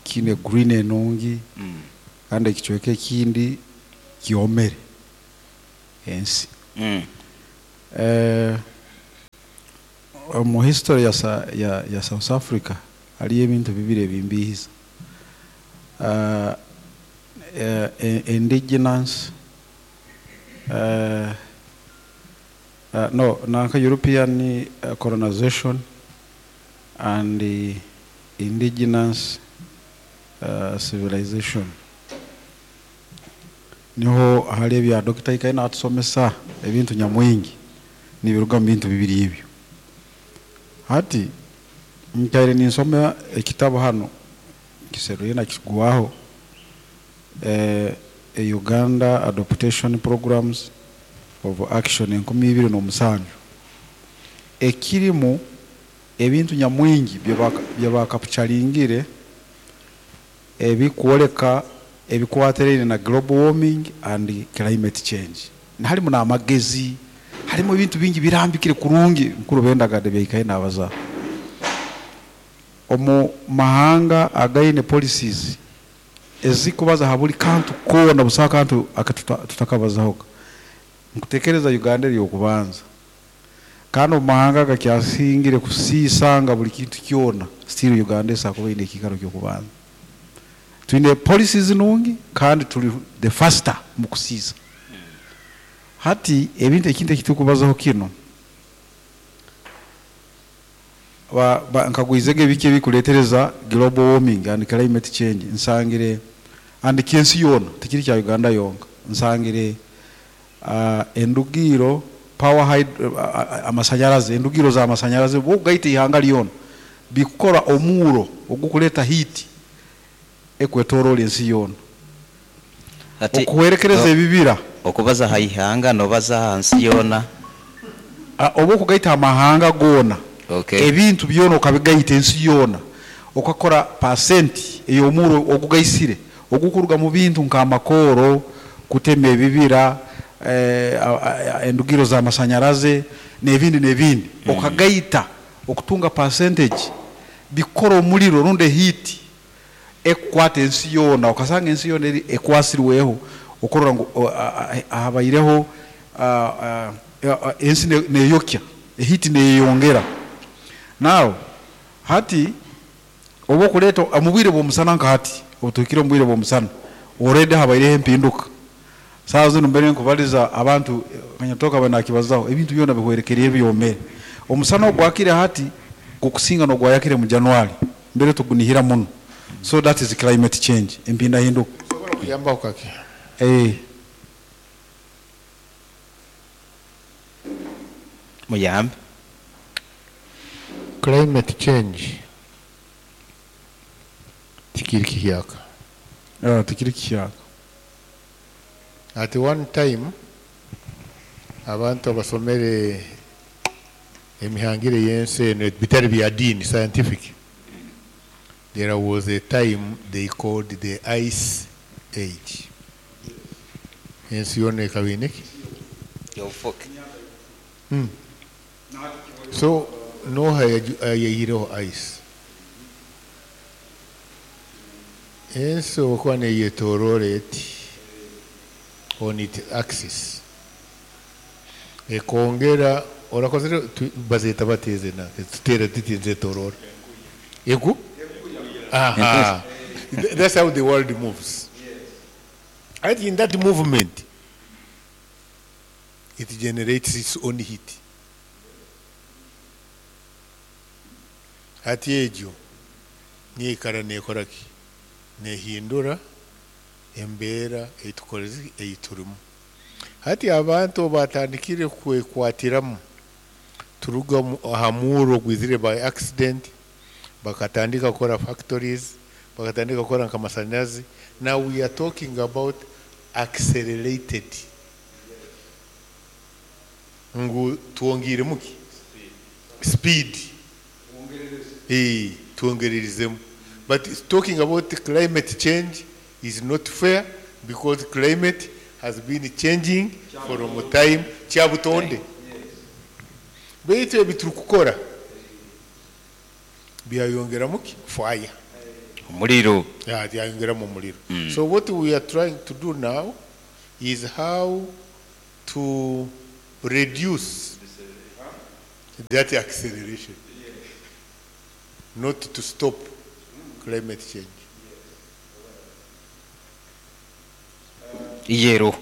kiine green enungi kandi ekicweka ekindi kyomere ensi. Omu history ya, Sa- ya, ya South Africa hariyo ebintu bibiri ebimbihiza. Indigenous no nanka European colonization and the indigenous civilization. Niho hali ebya Dr. Ikaye natusomesa ebintu nyamwingi nibiruga mu bintu bibiri ebyo. Hati nkaire ninsoma ekitabo hano kiseruye nakigwaho, Uganda Adaptation Programs of Action 2007, ekirimu ebintu nyamwingi byebakapucharingire ebikwoleka ebikwatirene na global warming and climate change. Harimu n'amagezi, harimu ebintu bingi birambikire kurungi mukuru bendagade byaikaye nabaza omu mahanga againe policies ezikubaza ha buli kantu koona, busa kantu akatutakabazaho. Nkutekereza Uganda eri okubanza, kandi omu mahanga agakyasingire kusiisanga buli kintu kyona, still Uganda esakuba ine ekikaro ky'okubanza. Twine policies nungi kandi tuli the faster mu kusiisa. Hati ebintu ekintu ekitukubazaho kino nkagwizege ebiki ebikuletereza global warming and climate change, nsangire and kyensi yoona, tikiri kya Uganda yonka. Nsangire endugiro power amasanyarazi, endugiro za masanyarazi bogaita ihanga lyona bikukora omuro ogukuleta heat ekwetorola ensi yoona.
Ati
okuhwerekereza ebibira.
Okubaza ha ihanga nobaza hansi yoona.
Oba okugaita amahanga goona. Ebintu byona okabigaita ensi yoona, okakora pasenti ey'omuro ogugaisire ogukuruga mu bintu nk'amakooro, kutema ebibira, endugiro z'amasanyaraze n'ebindi n'ebindi, okagaita okutunga percentage bikukora omuliro rundi ehiiti ekukwata ensi yoona, okasanga ensi yoona eri ekwasirweho, okurora ngu habaireho ensi neyokya, ehiiti neyeyongera. Now hati oba okuleeta omu bwire bw'omusana, nka hati obu tuhikire omu bwire bw'omusana, already habaireho empinduka. Saaha zinu mbere nkubaliza abantu kanyatoka banakibazaho, ebintu byona bihwerekerire, byomere. Omusana ogwakire hati gukusinga n'ogwayakire mu January, mbere tugunihira muno. So that is climate change, empindahinduka.
Nsobola kuyambaho kake?
Muyambe.
Climate change tikiri kihyaka.
Tikiri kihyaka.
At one time abantu abasomere emihangire y'ensi eno bitari bya diini, scientific, there was a time they called the ice age. Ensi yoona ekaba ine ki?
Obufuke.
So noha yayihireho ice? Ensi okuba neyetoroora eti on its axis, ekongera orakozire bazeta bateze na tutera tuti nzetoroora egu. Aha. That's how the world moves. And in that movement it generates its own heat. Hati egyo niikara nekora ki? Nehindura embeera eitukorezi eiturimu. Hati abantu batandikire kwekwatiramu turuga aha muuro ogwizire by accident, bakatandika kukora factories, bakatandika kukora nk'amasanyarazi. Now we are talking about accelerated, ngu twongiiremu ki? Speed. Twongererizemu. But talking about climate change is not fair because climate has been changing from time kyabutonde. Baitu ebi turikukora byayongeramu ki? Fire.
Omuriro.
Yeah, yayongeramu omuriro. So what we are trying to do now is how to reduce that acceleration, not to stop climate change.
Yero.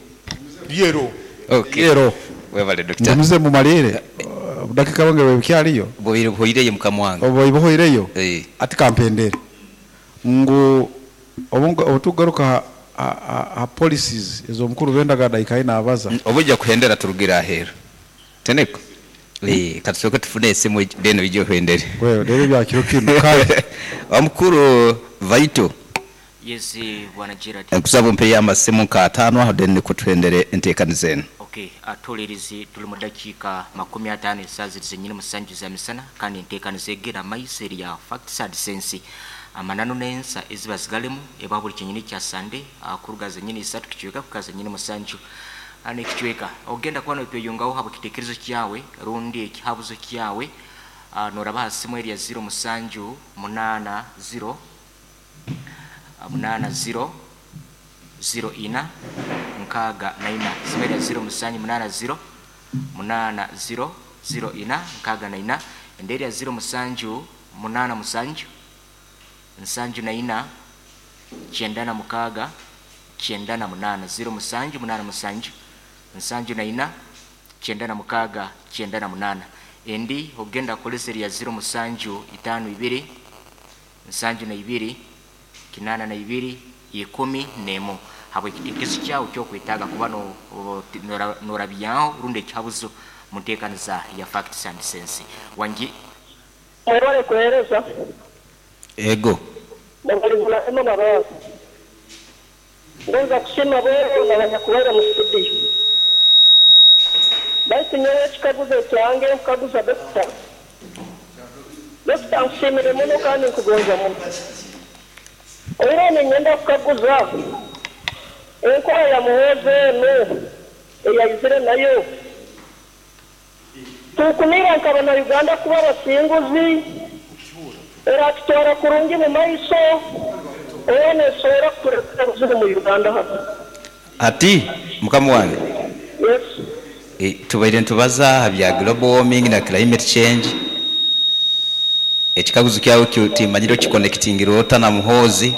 Yero.
Okay.
Yero.
Webale doctor.
Ngumize mumalire obudakika bwange bwebukyariyo.
Buhoireyo mukama wange.
Obu buhoireyo.
Eh.
Ati kampendere ngu obutugaruka ha policies ez'omukuru bendaga daika nabaza.
Obujja kuhendera turugira ahera. Teneko. Eh, katusoke tufune esimu deno ijo hendere.
Wewe rero bya kiro kino kale.
Omukuru Vaito.
Yes, bwana Gerard.
Nkusaba umpe amasimu nka atano aho then kutuhendere enteekaniza eno.
Okay, atolerizi tuli mu dakiika 50 esaawa ziri zenyini musanju za misana kandi enteekaniza egera maiso eri ya Facts and Sense. Amananu n'ensa eziba zigalemu eba buli kyenyini kya Sande kuruga zenyini isatu kicweka kuka zenyini musanju. Ano ekicweka ogenda kuba notweyungaho haba kitekerezo kyawe rundi ekihabuzo kyawe, noraba ha simu eri ya 0 musanju 8 0 8 0 0 ina nkaaga na ina. Simu eri ya 0 musanju 8 0 8 0 0 ina nkaaga na ina. Ende eri ya 0 musanju 8 musanju nsanju na ina kyenda na mukaaga kyenda na munaana. 0 musanju 8 musanju nsanju na ina kyenda na mukaaga kyenda na munaana. Endi ogenda kukolesa eri ya 0 musanju 5 2 nsanju na ibiri kinana na ibiri ikumi nemo. Habwe ekitekerezo kyawe kyokwetaaga kuba norabyaho rundi ekihabuzo mu nteekaniza ya Facts and Sense. Wangi
mwebale kuhereza.
Ego.
Mwabalibula ema mabazi. Ngonza kushima bwero na banyakubaira mu studio. Basi nyowe ekikaguzo kyange nkukaguza dokita. Dokita nkushimire muno kandi nkugonza muno. Oira ninyenda kukaguza enkora ya Muhoozi eno eyayizire nayo. Tukumira nkaba na Uganda kuba abasinguzi eratutwara kurungi mu maiso ene esobola kutureetera obuzibu mu Uganda hano.
Ati mukama wange.
Yes.
Tubaire nitubaza aha bya global warming na climate change. Ekikaguzo kyawe timanyire okiconnectingira ota na Muhoozi.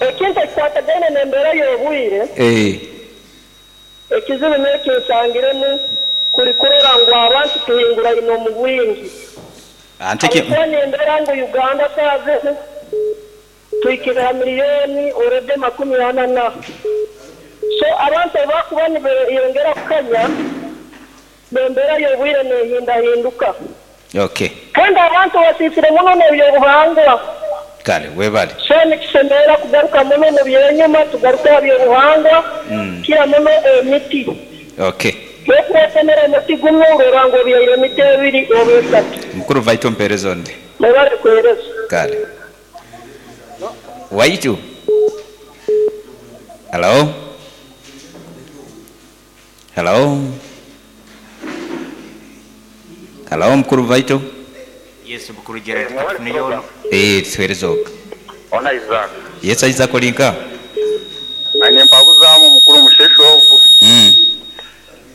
Ekintu ekikwatagaine n'embeera y'obwire. Ekizibu n'ekinsangiremu kuri kurora ngu abantu tuhingura ino mu bwingi.
Anteke
Abakwana embeera ngu Uganda saaze tuhikire miliyoni orede 44 na. So abantu abakuba nibeyongera kukanya n'embeera y'obwire nehindahinduka.
Okay.
Kandi abantu basiisire muno n'ebyobuhangwa.
Kale webale.
So nikisemera kugaruka muno mu byenyuma tugaruke aha byobuhangwa. Kira muno emiti.
Okay.
Kwetemera emiti gumwe urora ngu obyaire emiti ebiri oba esatu.
Mukuru Vaito mpeereza onde.
Mwebale kuhereza.
Kale. Waitu. Hello. Hello. Hello mukuru Vaito.
Yes, mukuru Gerard katufuneyo.
Tuhereza oka.
Ona Isaac.
Yes, Isaac olinka.
Ane mpabuzamu mukuru mushesho ogu.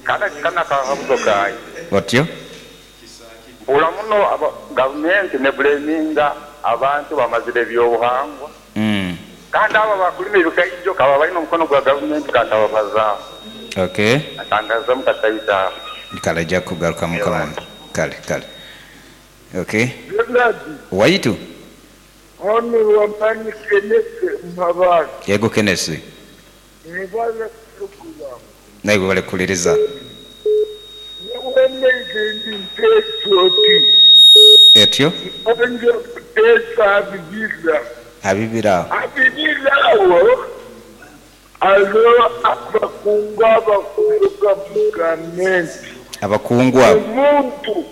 Kana kana kahabuzo kayi.
Otyo?
Mpura muno gavumenti ne blaminga abantu bamazire ebyobuhangwa. Kandi aba bakulima ebikaijo kaba balina omukono gwa gavumenti katababazaho.
Okay.
Atangaza mukataita.
Kale ajja kugaruka mukama wange. Kale kale. Okay. Waitu.
Ono wamani Kenneth Mabara.
Yego Kenneth.
Nibaza kurukuba.
Nawe bale kuliriza. Etyo? Abibira.
Abibira alo abakungu abakuruka mu gavumenti.
Abakungu abo.
Omuntu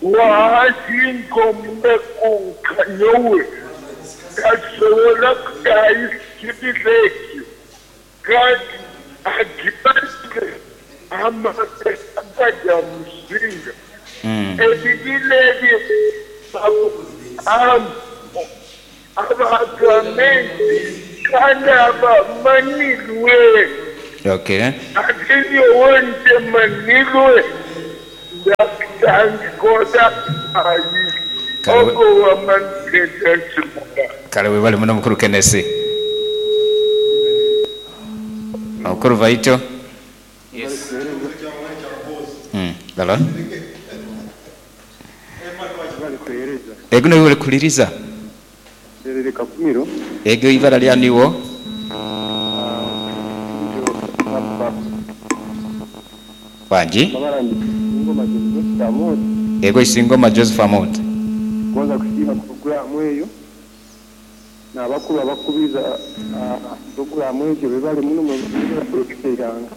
wahasinga omukunkanyowe tasobola kutayisa ekyo kandi agibazire amateeka gajya musinga. Ebibira ebyo Aba gavumenti kandi abamanirwe.
Okay.
Ati nyowe ntemanirwe, ndakutandika ota ayi
Kale we.
ogwo wamanire ensimura.
Kale webale muno mukuru Kenesi. Omukuru Vaito.
Yes.
Hello. Ego noiwe orikuhuririza. Ego eibara rya niiwe? Wangi? Ego Isingoma Joseph Amooti.
Kubanza kusiima puroguraamu eyo n'abakuru abakubiriza puroguraamu egyo bebare muno mwebare kwegesa eihanga.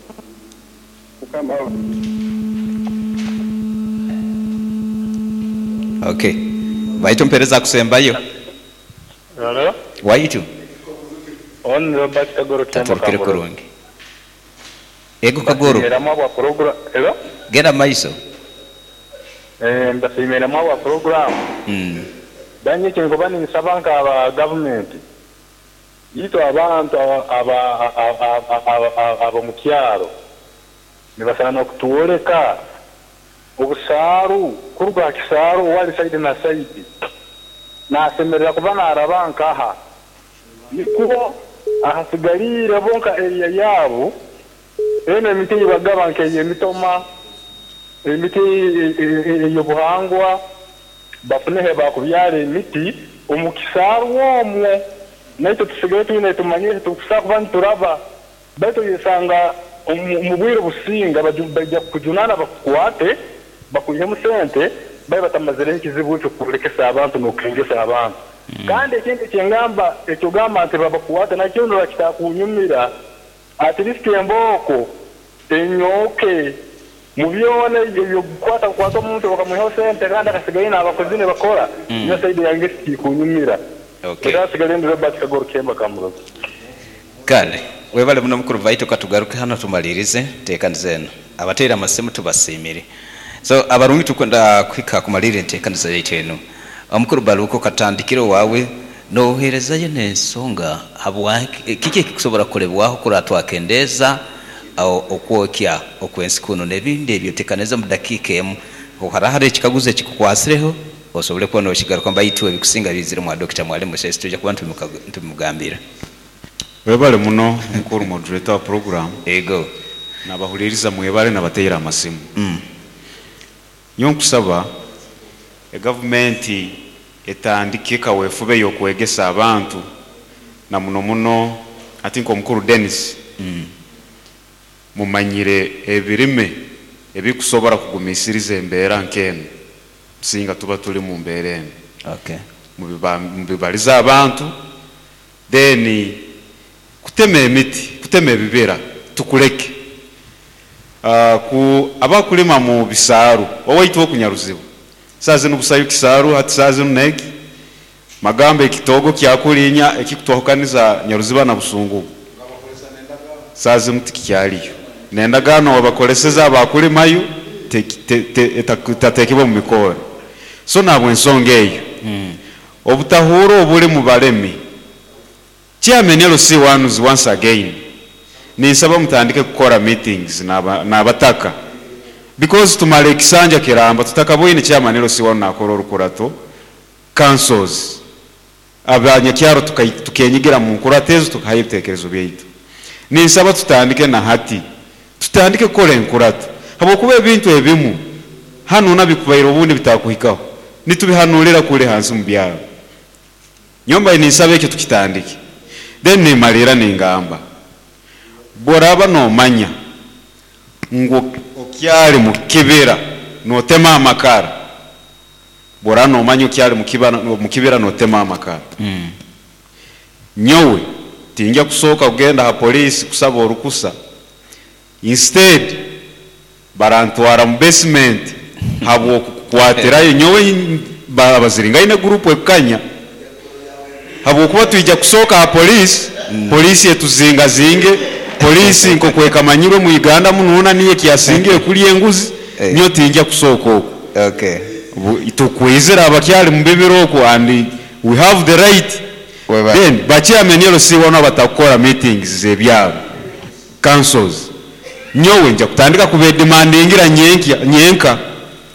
Mukama
Ok. Baitu mpereza akusembayo.
Halo,
Waitu.
on Robert Kagoro Kyambo
Taturukire
Kamboro.
kurungi. Ego Kagoro.
Mbasiimiramu abwa program. Hello?
Genda maiso.
Eh, mbasiimiramu abwa program. Danye kyenkuba ninsaba nka aba government. Itwe abantu aba aba aba mu kyaro nibasaana kutworeka obusaaru kuruga aha kisaaru owari sayidi na sayidi nasemerera kuba naraba nkaha nikwo ahasigariire bo nka area yaabo enu emiti eyibagaba nk'eyemitoma emiti ey'obuhangwa bafune he bakubyara emiti omu kisaaru omwo naitwe tusigare twine tumanyire tukusobola kuba nituraba baitu oyesanga omu bwire obusinga baija kukujunana bakukwate bakwihemu sente babe batamazireho ekizibu ekyo kurekesa abantu n'okengesa abantu. Kandi ekindi ekyengamba ekyogamba nti babakwate nakyo nibakitakunyumira at least embooko enyooke mu byona ebyokukwata kukwata omuntu bakamwihaho sente kandi akasigayo n'abakozi nibakora niyo side yange tikikunyumira.
Okay.
Era asigale ndi Robert Kagoro Kemba Kamuroza.
Kale webale muno mukuru Vaito katugaruke hano tumalirize enteekaniza enu. Abateire amasimu tubasiimire. So abarungi tukwenda kuhika kumalirira enteekaniza yaitu enu. Omukuru Baluku katandikire owaawe noherezayo n'ensonga habwaki kiki ekikusobora kukolebwaho kurora twakendeeza okwokya okw'ensi kunu n'ebindi ebyo oteekanize omu dakiika emu. Haraho hariho ekikaguzo ekikukwasireho osobole kuba nokigarukamu baitu ebikusinga biizire mwa Dokita Mwalimu Musesi twija kuba nitubimugambira.
Webale muno mukuru moderator wa program.
Ego.
Nabahuliriza mwebale nabateire amasimu. Nyowe nkusaba egavumenti etandike kawefube yokwegesa abantu na muno muno ati nkomukuru Denis mumanyire ebirime ebikusobora kugumisiriza embeera nk'enu singa tuba turi mu mbeera enu.
Okay.
Mubibarize abantu then kutema emiti, kutema ebibira tukuleke. Ku abakulima mu bisaaru owaitu okunyaruzibu saaha zinu busayo kisaaru hati saaha zinu neki magambo ekitoogo kyakulinya ekikutwahukaniza Nyaruziba na Busungu saaha zinu tikikyariyo nendagaano wabakoleseza abakulimayo etatekebwa mu mikoore so nahabwensonga eyo obutahuura oburi mu baremi chairman LC ones once again ninsaba mutandike kukora meetings nabataka because tumara ekisanja kiramba tutakaboine chairman LC one nakora orukurato councils abanyakyaro tukenyigira mu nkurato ezo tukahayo ebitekerezo byaitu. Ninsaba tutandike na hati tutandike kukora enkurato habwokuba ebintu ebimu hanu nabikubaire obundi bitakuhikaho nitubihanurira kuri hansi mu byaro. Nyomba ninsaba ekyo tukitandike. Then nimalira ningamba bworaba nomanya ngu okyari mu kibira notema amakara, bworaba nomanya okyari mu kibira notema amakara, nyowe tinja kusooka kugenda ha polisi kusaba orukusa, instead barantwara mu basement habwokukwatirayo nyowe abaziringaine group ekukanya habwokuba twija kusooka ha polisi, polisi etuzingazinge, polisi nkokwekamanyirwe mu Uganda mununa niye kyasingire kulya enguzi, nyo tinja kusooka okwo. Tukwizira abakyali mu bibira okwo and we have the right. Then ba chairman LC boona abatakukora meetings z'ebyaro, councils, nyowe nja kutandika kubedemandingira nyenkya nyenka.